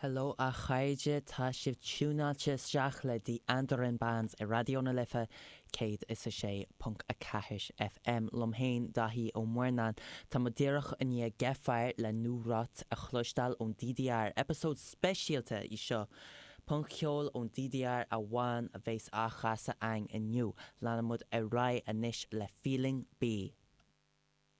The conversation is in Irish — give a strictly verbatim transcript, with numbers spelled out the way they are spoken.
Hello a chairde tá sibh tiúnáilte isteach le Die Anderen Bands ar Raidió na Life céad is a sé ponc a ceathair FM liom féin Daithí Ó Muirneáin Tá muid díreach i ndiaidh Gefahr le Nur Rot a chloisteáil ón DDR, eipeasóid speisialta í seo. Punc-cheol ón DDR amháin a bheas á chasadh againn inniu, leanfaidh muid ar aghaidh anois le Feeling B.